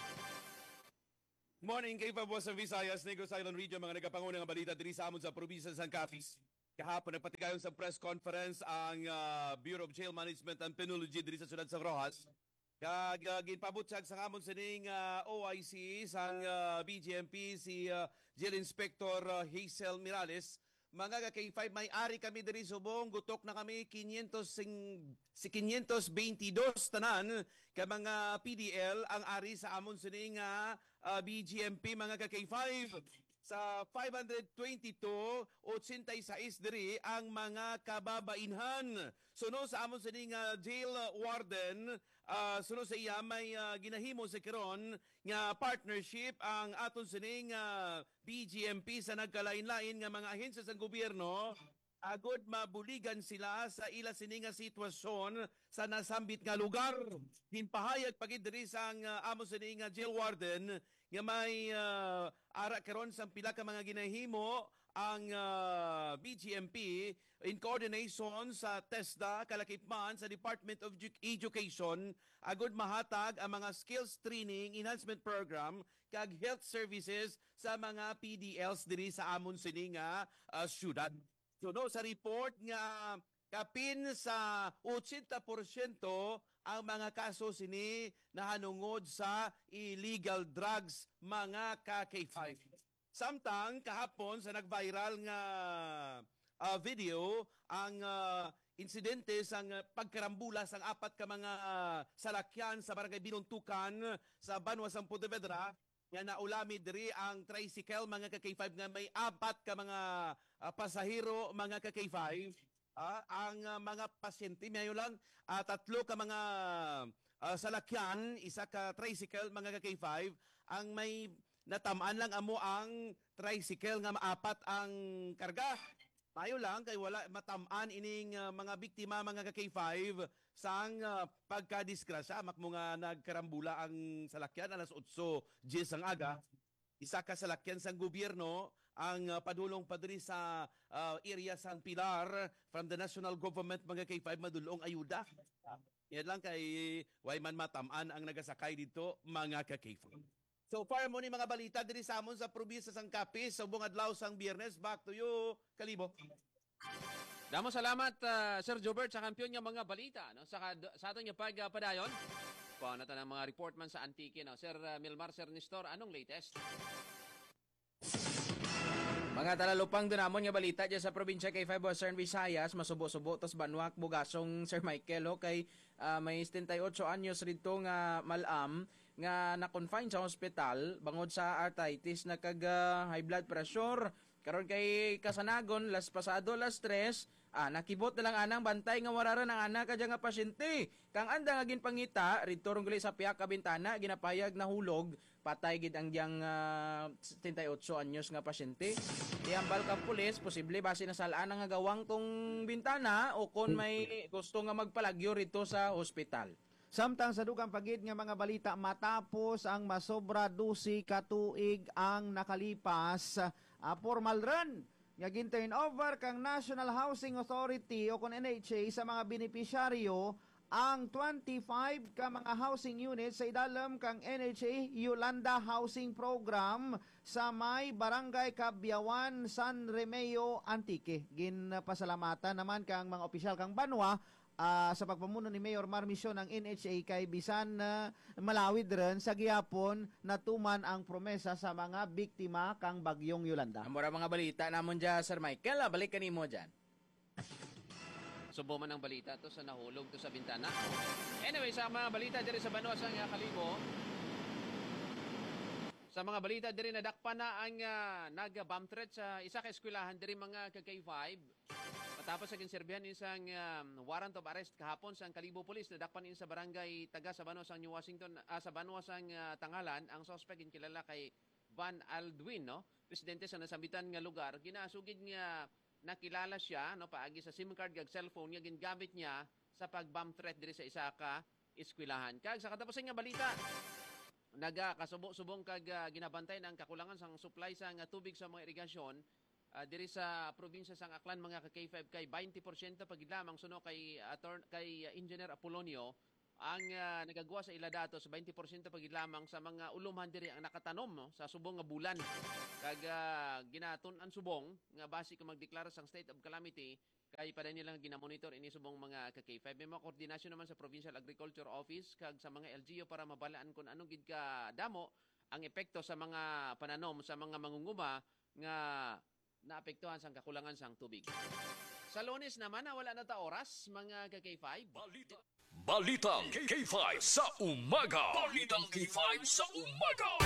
Morning, K five Western Visayas, Negros Island Region, mga nagapanguna nga balita diri sa amon sa probinsya sa Capiz. Kahapon, nagpatigayon sa press conference ang, ah, Bureau of Jail Management and Penology diri sa siyudad sa Roxas. Kag, ah, ginpabutyag sa amon sining, ah, O I C sang, ah, B J M P, si, ah, Jail Inspector, ah, Hazel Mirales. Mga ka K five, may ari kami diri subong, gutok na kami, quinientos sing-, si quinientos veintidós tanan ka mga P D L ang ari sa amon sini nga, ah, B G M P, mga ka K five. Sa five hundred twenty-two, ochenta y seis diri ang mga kababainhan. Suno sa amon sini nga jail warden, ah, suno sa iya may, ah, ginahimo sa karon nga partnership ang aton sini nga B G M P sa nagkalain-lain nga mga ahensya sang gobyerno, agod mabuligan sila sa ila sini nga sitwasyon sa nasambit nga lugar. Ginpahayag pa gid diri sang, ah, amo sini nga jail warden nga may, ah, ara karon sang pila ka mga ginahimo ang, ah, B G M P in coordination sa TESDA, kalakip man sa Department of Edu-, Education, agud mahatag ang mga skills training enhancement program kag health services sa mga P D Ls diri sa amon sini nga, ah, syudad. So, no, sa report nga kapin sa ochenta porsyento ang mga kaso sini nahanungod sa illegal drugs, mga ka K five. Samtang kahapon sa nag-viral nga, ah, video, ang, ah, insidente sang pagkarambula sang apat ka mga, ah, salakyan sa Barangay Binuntukan sa banwa sang Pontevedra, nga naulami diri ang tricycle, mga ka K five, nga may apat ka mga, ah, pasahero, mga ka K five. Ah, ang, ah, mga pasyente, mayo lang, ah, tatlo ka mga, ah, salakyan, isa ka tricycle, mga ka K five, ang may natam-an lang amo ang tricycle nga maapat ang karga. Mayo lang kay wala matam-an ining, ah, mga biktima, mga ka K five, sang, ah, pagkadisgrasya. Makmo nga nagkarambula ang salakyan alas otso diyes ang aga. Isa ka salakyan sang gobyerno ang, ah, padulong pa diri sa, ah, area sang Pilar from the national government, mga K five, madulong ayuda. Yan lang kay way man matam-an ang nagasakay dito, mga ka K five. So far mo ni mga balita diri sa amon sa probinsya sang Capiz, subong adlaw sang Biyernes. Back to you, Kalibo. Damo salamat, ah, Sir Jobert, sa kampiyon nga mga balita, no? Sa kad-, sa aton nga pagpadayon, kuha na ta ng mga report man sa Antique, no? Sir, ah, Milmar, Sir Nestor, anong latest? Mga talalupang dunamon nga balita dyan sa probinsya kay five Western Visayas, masubo-subo tas banwa bugasong Sir Michael, ho, kay, ah, may setenta y ocho anyos rito nga malam nga na-confine sa hospital bangod sa arthritis na kag, ah, high blood pressure. Karon kay kasanagon, las pasado las tres, ah, nakibot na lang anang bantay nga wararan ang anak ka dyan nga pasyente. Kang anda nga ginpangita, rito rong gali sa piyak ka bintana, ginapayag nahulog, patay gid ang diyang, ah, setenta y ocho anyos nga pasyente. Ihambal kang pulis, posible basi nasalaan nga gawang tong bintana o kon may gusto nga magpalagyo rito sa hospital. Samtang sa dugang pa gid nga mga balita, matapos ang masobra dose ka tuig ang nakalipas, ah, formal run nga gin-turn over kang National Housing Authority o kon N H A sa mga benepisyaryo ang twenty-five ka mga housing units sa idalom kang N H A Yolanda Housing Program sa may Barangay Cabyawan, San Remeo, Antique. Ginpasalamatan naman kang mga opisyal kang banwa, ah, sa pagpamuno ni Mayor Mar Mision ang N H A kay bisan, ah, malawid rin sa gihapon natuman ang promesa sa mga biktima kang Bagyong Yolanda. Amo ra mga balita namon dyan, Sir Michael. Ah, balik kanimo dyan. Subo man ang balita to sa nahulog to sa bintana. Anyway, sa mga balita diri sa banwa sang, ah, Kalibo, sa mga balita diri, nadakpan na ang, ah, nag-bomb threat sa isa ka eskwelahan diri, mga ka K five. Matapos sa ginserbihan isang, um, warrant of arrest kahapon sang Kalibo Police, nadakpan in sa barangay Taga sa banwa sang New Washington, ah, sa banwa sang, ah, Tangalan, ang suspect ginkilala kay Van Aldwin, no? residente sa nasambitan nga lugar, ginasugid nga nakilala siya, no, paagi sa SIM card kag cellphone nga gingamit niya sa pag-bomb threat diri sa isa ka eskwelahan. Kag sa katapusan nga balita, nagakasubo-subong kag, ah, ginabantay ang kakulangan sang supply sang tubig sa mga irigasyon, ah, diri sa probinsya sang Aklan, mga ka K five, kay twenty porsyento pa gid lamang suno kay ator-, kay, ah, Engineer Apolonio ang, ah, nagagwa sa ila datos, twenty porsyento pa gid lamang sa mga ulumhan diri ang nakatanom, no, sa subong nga bulan. Kag, ah, ginatun-an subong nga basi kung magdeklara sang state of calamity, kay paday nila nga ginamonitor ini subong, mga ka K five. May mga koordinasyon naman sa Provincial Agriculture Office kag sa mga L G U para mabalaan kung ano gid ka damo ang epekto sa mga pananom sa mga mangunguma nga naapektuhan sang kakulangan sang tubig. Sa Lunes naman, na wala na ta oras, mga ka K five. Balita. Balitang K five sa umaga. Balitang K five sa umaga.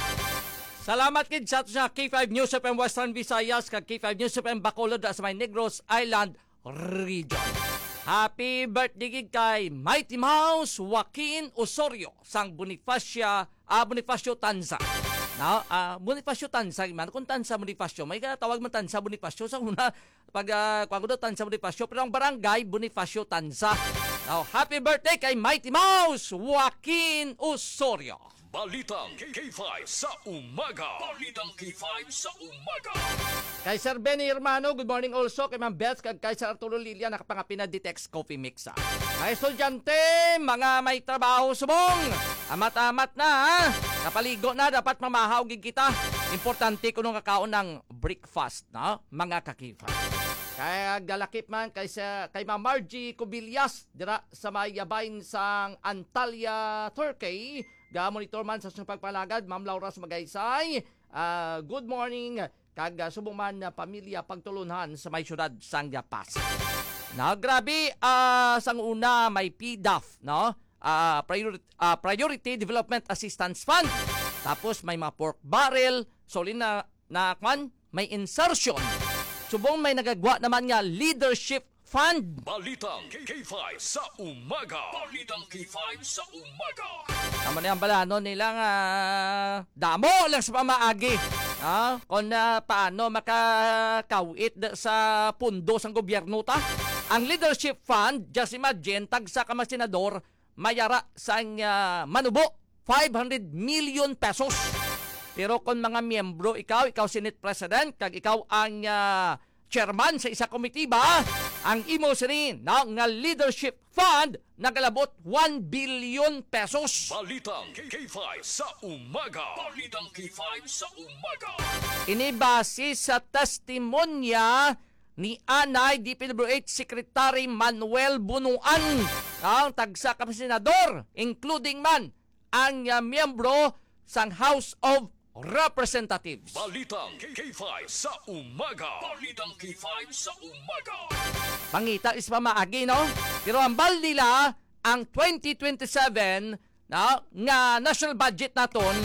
Salamat gid sa, sa K five News F M Western Visayas kag K five News F M Bacolod sa may Negros Island Region. Happy birthday gid kay Mighty Mouse Joaquin Osorio sang Bonifacia, ah, Bonifacio Tanza. No? Ah, Bonifacio Tanza, man kung Tanza Bonifacio, may tawag man Tanza Bonifacio sa una, pag, ah, kuwan ko daw, Tanza Bonifacio, pero ang barangay, Bonifacio Tanza. Now, happy birthday kay Mighty Mouse Joaquin Osorio. Balitang K five sa umaga. Balitang K five sa umaga. Kay Sir Benny Hermano, good morning also. Kay Ma'am Beth, kag kay Sir Arturo Lilia, nakapangapin na Ditex Coffee Mix, ah. Mga estudyante, mga may trabaho subong, amat-amat na, ha? Kapaligo na, dapat mamahaw gid kita. Importante kuno nga kaon ang breakfast, no? Mga ka K five. Kay galakip man kay sa, kay Ma'am Margie Cubillas dira sa may yabayn sang Antalya, Turkey. Ga-monitor man sa siyang pagpalagad, Ma'am Laura Magaysay. Ah, good morning. Kag, ah, subong man na pamilya pagtulunhan sa may siyudad sang La Paz. Na grabe, ah, sang una may P DAF, no? Ah, priori-, ah, Priority Development Assistance Fund. Tapos may mga pork barrel, solid na, na kwan, may insertion. Subong may nagagwa naman nga leadership fund. Balitang K five sa umaga. Balitang K five sa umaga. Amo ni ang balanon nila nga damo lang sa pamaagi. Ah, kung, ah, paano makakawit da-, sa pundo sang gobyerno ta? Ang leadership fund, just imagine, tagsa ka mga senador, mayara sang, ah, manubo, five hundred million pesos. Pero kung mga miyembro ikaw, ikaw Senate President, kag ikaw ang, ah, chairman sa isa komitiba, ang imo sini na nga leadership fund nagalabot one billion pesos. Balitang K five sa umaga. Balitang K five sa umaga. Ini base sa testimonya ni anay D P W H Secretary Manuel Bunuan, ang tagsa ka senador, including man ang, ah, miyembro sang House of Representatives. Balitang K five sa umaga. Balitang K five sa umaga. Pangita is pamaagi, no? Pero ang bal nila, ang twenty twenty-seven, no, nga national budget naton,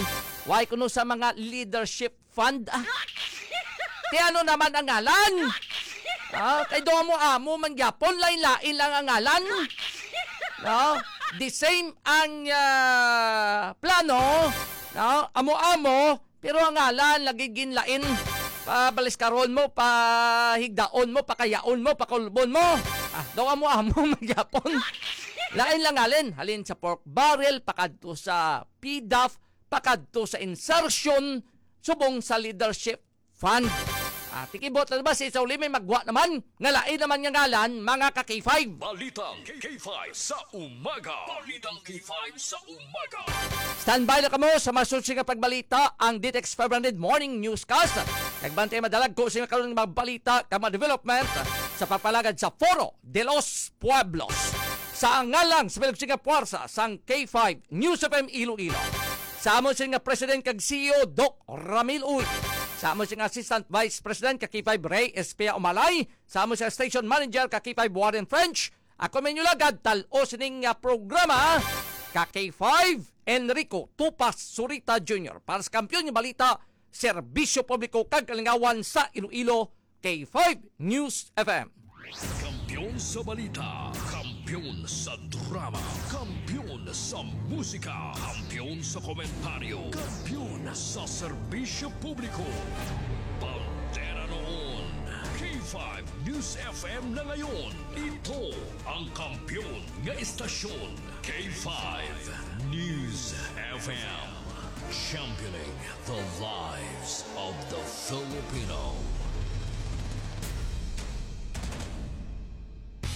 why kuno sa mga leadership fund, ah. Ti ano naman ang ngalan? Ah, kay do amo-amo man gyapon, lain-lain lang ang ngalan. No? The same ang, ah, plano, no? Amo-amo, pero ang ngalan lagi ginlain. Pabaliskaron mo, pahigdaon mo, pakayaon mo, pakulbon mo. Ah, do amo-amo man gyapon. Lain lang halin. Halin sa pork barrel, pakadto sa P DAF, pakadto sa insertion, subong sa leadership fund. Ah, tikibot na ba si Sauli may magwa naman? Nga lain naman nga ngalan, mga ka K five. Balitang K five sa umaga. Balitang K five sa umaga. Standby na kamo sa masunod nga pagbalita, ang Ditex five hundred Morning Newscast. Nagbantay madalagko sa karon nga mga balita kag mga development sa pagpalagad sa Foro de los Pueblos. Sa ngalan sa Bilog Singa Puwersa sang K five News F M Iloilo. Sa amo sini nga President kag C E O, Doc Ramil Uy. Sa amo sini nga Assistant Vice President kag K five, Ray Espia Umalay. Sa amo sini nga Station Manager kag K five, Warren French. Ako man inyo lagad, tal-o sining, ah, programa, ka K five, Enrico Tupas Surita Junior. Para sa Kampiyon nga Balita, Serbisyo Publiko kag Kalingawan sa Iloilo, K five News F M. Kampiyon sa balita, kampiyon sa drama, kampiyon sa musika, kampiyon sa komentaryo, kampiyon sa serbisyo publiko. Bandera noon, K five News F M na ngayon. Ito ang kampiyon nga estasyon, K five News F M. Championing the lives of the Filipino.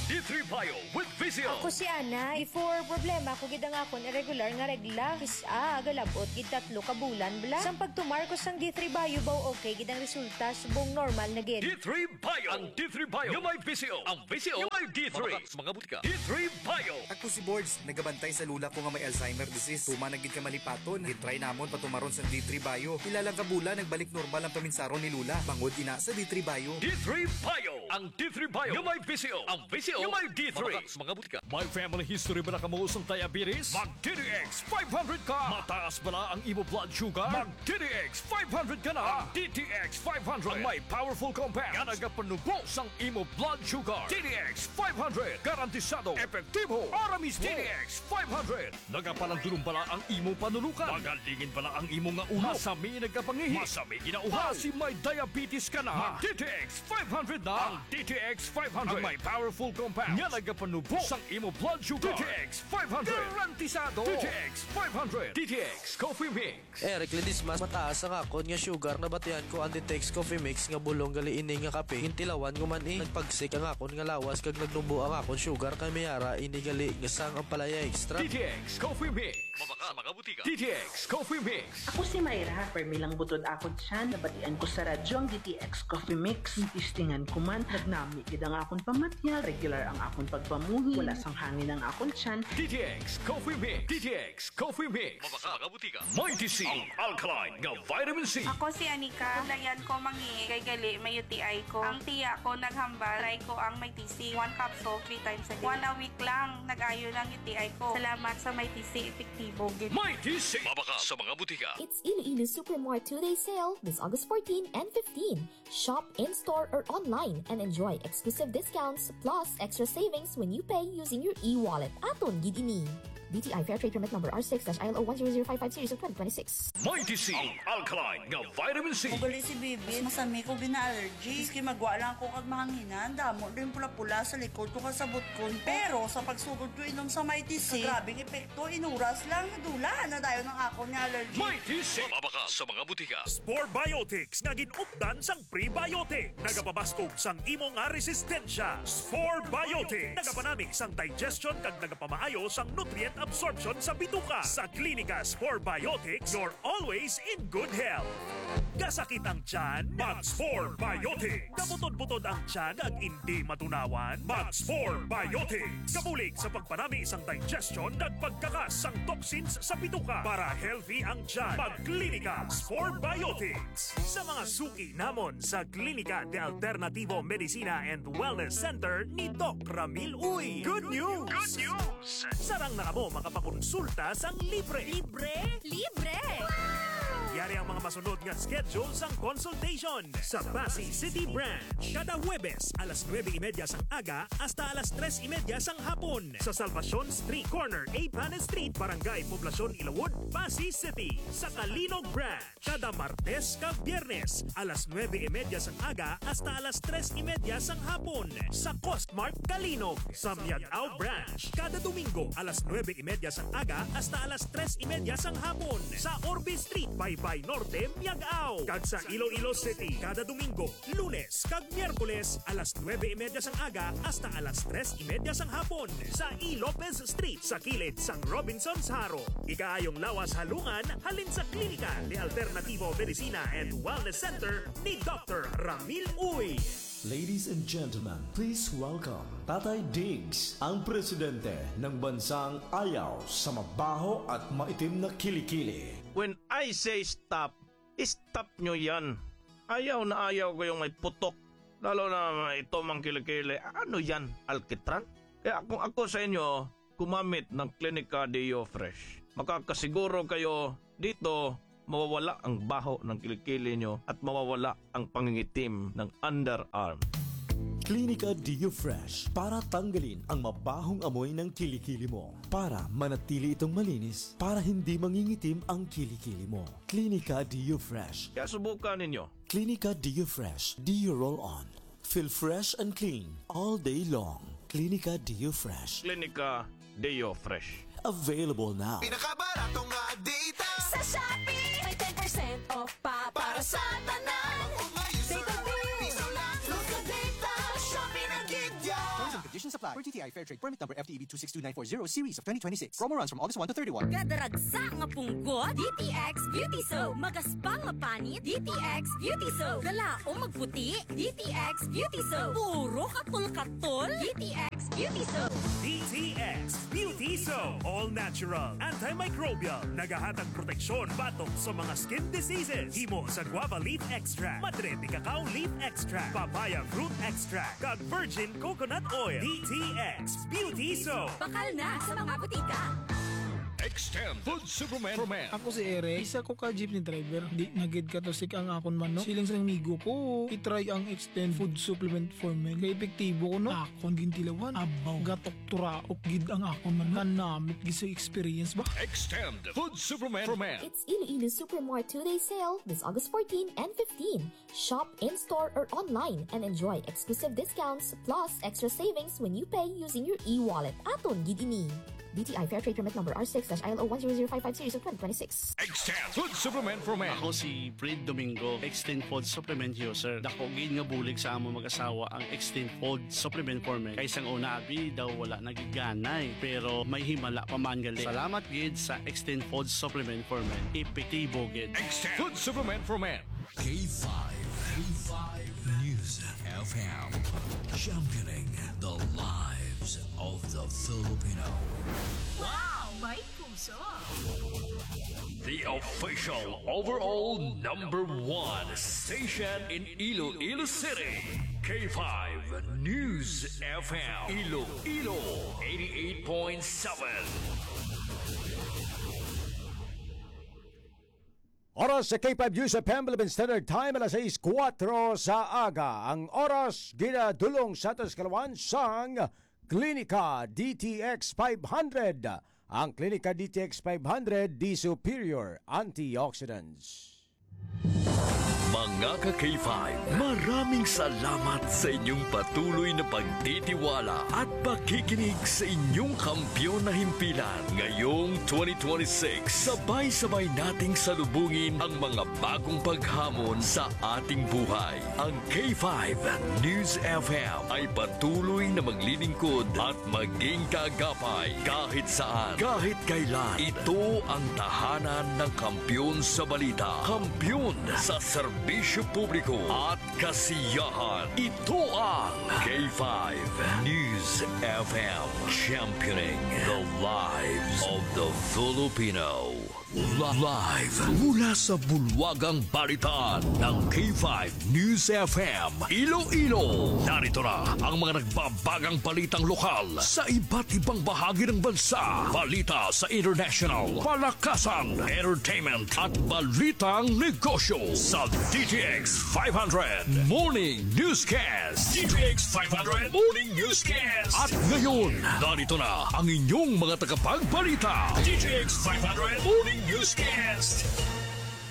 D three Bio with V C O. Ako si Ana. Before, problema ko gid ang akon irregular nga regla. Kis-a, galabot gid tatlo ka bulan bala. Sang pagtumar ko sang D three Bio, baw okay gid ang resulta, subong normal na gid. D three Bio. Ang D three Bio nga may V C O. Ang V C O nga may D three. Mabakal sa mga butika. D three Bio. Ako si Bords, nagabantay sa lula ko nga may Alzheimer disease. Tuman na gid ka malipaton. Gintry namon patumaron sang D three Bio. Pila lang ka bulan, nagbalik normal ang paminsaron ni lula. Bangod ina sa D three Bio. D three Bio. Ang D three Bio nga may V C O. Ang V C O nga may D three. Mabakal sa mga butika. May family history bala kamo sang diabetes? Mag D T X five hundred ka. Mataas bala ang imo blood sugar? Mag D T X five hundred ka na. Ang D T X five hundred ang may powerful compound nga nagapanubo sang imo blood sugar. D T X five hundred, garantisado, epektibo, ara mismo. D T X five hundred, nagapalandulong bala ang imo panulukan? Magalingin bala ang imo nga ulo? Masami nagkapangihi? Masami ginauhaw? Basi may diabetes ka na? Mag D T X five hundred na. Ang D T X five hundred ang may powerful compound nga nagapanubo sang imo blood sugar. D T X five hundred, garantisado. D T X five hundred, D T X Coffee Mix. Eric Ledesma, mataas ang akon nga sugar. Nabatian ko ang D T X Coffee Mix nga bulong gali ini nga kape. Gintilawan ko man, eh. Nagpagsik ang akon nga lawas kag nagnubo ang akon sugar, kay may ara ini gali nga sang ampalaya extra. D T X Coffee Mix. Mabakal sa mga butika. D T X Coffee Mix. Ako si Myra. Permi lang butod akon tiyan. Nabatian ko sa radyo ang D T X Coffee Mix. Testingan ko man. Nagnami gid ang akon pamatyag. Regular ang akon pagpamuhi. Wala sang hangin ang akon tiyan. D T X Coffee Mix. D T X Coffee Mix. Mabakal sa mga butika. Mighty C, ang alkaline nga vitamin C. Ako si Anika. Nabatian ko mangi kay gali may U T I ko. Ang tiya ko naghambal, try ko ang Mighty C. One capsule, three times a day. One a week lang, nag-ayo lang U T I ko. Salamat sa Mighty C, epektibo gid. Mighty C. Mabakal sa mga butika. It's Iloilo Supermart two-day sale this August fourteen and fifteen. Shop in-store or online and enjoy exclusive discounts plus extra savings when you pay using your e-wallet. Aton gid ini. B T I Fair Trade Permit Number R six dash I L O one zero zero five five series of twenty twenty-six. Mighty C, ang alkaline nga vitamin C. Magali si Bibi, masami ko gina-allergy. Maski magwa lang ako kag mahanginan, damo din pula-pula sa likod ko kag sa butkon ko. Pero sa pagsugod ko inom sa Mighty C, grabe ang epekto, inuras lang, nadula na dayon ang akon nga allergy. Mighty C. Mabakal sa mga butika. Spore Biotics nga gin-updan sang prebiotic. Nagapabaskog sang imo nga resistensya. Spore Biotics. Nagapanami sang digestion kag nagapamaayo sang nutrient absorption sa bituka. Sa Klinika Spore Biotics, you're always in good health. Gasakit ang tiyan? Mag Spore Biotics. Kabutod-butod ang tiyan kag indi matunawan? Mag Spore Biotics. Kabulig sa pagpanami sang digestion kag pagkakas sang toxins sa bituka. Para healthy ang tiyan, mag Klinika Spore Biotics. Sa mga suki namon sa Klinika de Alternativo Medicina and Wellness Center ni Doc Ramil Uy. Good news! Good news! Sarang na kamo makapakonsulta sang libre. Libre? Libre! Yari ang mga masunod nga schedule sang consultation. Sa Passi City Branch, kada Huwebes, alas nuebe y media sang aga hasta alas tres y media sang hapon. Sa Salvacion Street, corner A Panes Street, Barangay Poblacion, Ilawod, Passi City. Sa Calinog Branch, kada Martes kag Biyernes, alas nuebe y media sang aga hasta alas tres y media sang hapon. Sa Costmart Calinog, sa Miag-ao Branch, kada Domingo, alas nuebe y media sang aga hasta alas tres y media sang hapon. Sa Orbe Street, Baybay Norte, Miag-ao. Kag sa Iloilo City, kada Domingo, Lunes kag Miyerkules, alas nuebe y media sang aga hasta alas tres y media sang hapon, sa E. Lopez Street, sa kilid sang Robinsons Jaro. Ikaayong lawas halungan halin sa Klinika de Alternativo Medicina and Wellness Center ni Doctor Ramil Uy. Ladies and gentlemen, please welcome Tatay Diggs, ang presidente ng bansang ayaw sa mabaho at maitim na kilikili. When I say stop, stop nyo yan. Ayaw na ayaw ko yung may putok. Lalo na ito mang kilikili. Ano yan? Alkitran? Kaya kung ako sa inyo, gumamit ng Klinika Deo Fresh. Makakasiguro kayo dito mawawala ang baho ng kilikili nyo at mawawala ang pangingitim ng underarm. Clinica Deo Fresh para tanggalin ang mabahong amoy ng kilikili mo. Para manatili itong malinis, para hindi mangingitim ang kilikili mo. Clinica Deo Fresh. Kaya subukan ninyo. Clinica Deo Fresh Deo Roll On. Feel fresh and clean all day long. Clinica Deo Fresh. Clinica Deo Fresh. Available now. Pinakabarato nga data. Sa Shopee, may ten percent off pa para sa tanan. Umayo sa Data bill. Piso lang. Local data. Shopee na gid ya. Terms and conditions apply. Per T T I Fair Trade Permit Number F T E B two six two nine four zero series of twenty twenty-six. Promo runs from August one to thirty-one. Kadaragsa nga punggot, D T X Beauty Soap. Magaspang nga panit, D T X Beauty Soap. Galaom magputi, D T X Beauty Soap. Puro katol-katol, D T X Beauty Soap. D T X Beauty Soap. All natural, antimicrobial. Nagahatag proteksyon batok sa mga skin diseases. Himo sa guava leaf extract, madre de cacao leaf extract, papaya fruit extract, kag virgin coconut oil. D T X Beauty Soap. Bakal na sa mga butika. Extend Food Supplement for Men. Ako si Eric, isa ko ka jeepney driver. Di na gid katusik ang akon manok. Siling sa amigo ko, i-try ang Extend Food Supplement for Men. Kay epektibo ko, no? Akon gintilawan. Abaw, gatok turaok gid ang akon manok. Kanamit gid sa experience ba? Extend Food Supplement for Men. It's Iloilo Supermart two-day sale this August fourteen and fifteen. Shop in-store or online and enjoy exclusive discounts plus extra savings when you pay using your e-wallet. Aton gid ini. D T I Fair Trade Permit Number R six dash I L O one zero zero five five series of twenty twenty-six. Extend Food Supplement for Men. Ako si Fred Domingo, Extend Food Supplement user. Dako gid nga bulig sa among mag-asawa ang Extend Food Supplement for Men. Kay sang una, abi daw wala nagiganay, pero may himala pa man gali. Salamat gid sa Extend Food Supplement for Men. Epektibo gid. Extend Food Supplement for Men. K five, K five News F M. Championing the lives of the Filipino. Wow! May puso! The official overall number one station in Iloilo City. K five News F M. Iloilo, eighty-eight point seven. Oras sa K five News F M, Philippine Standard Time, alas sais kuwatro sa aga. Ang oras, ginadulong sa aton sa kalawan sang Klinika D T X five hundred. Ang Klinika D T X five hundred, the superior antioxidants. Mga ka-K five, maraming salamat sa inyong patuloy na pagtitiwala at pakikinig sa inyong kampiyon na himpilan. Ngayong twenty twenty-six, sabay-sabay nating salubungin ang mga bagong paghamon sa ating buhay. Ang K five News F M ay patuloy na maglilingkod at maging kaagapay kahit saan, kahit kailan. Ito ang tahanan ng kampiyon sa balita, kampiyon sa serbisyo publiko at kasiyahan. Ito ang K five News F M, championing the lives of the Filipino. Li-, live mula sa bulwagang balitaan ng K five News F M Iloilo. Narito na ang mga nagbabagang balitang lokal sa iba't ibang bahagi ng bansa. Balita sa international, palakasan, entertainment, at balitang negosyo sa D T X five hundred Morning Newscast. D T X five hundred Morning Newscast. At ngayon, narito na ang inyong mga tagapagbalita. D T X five hundred Morning Newscast.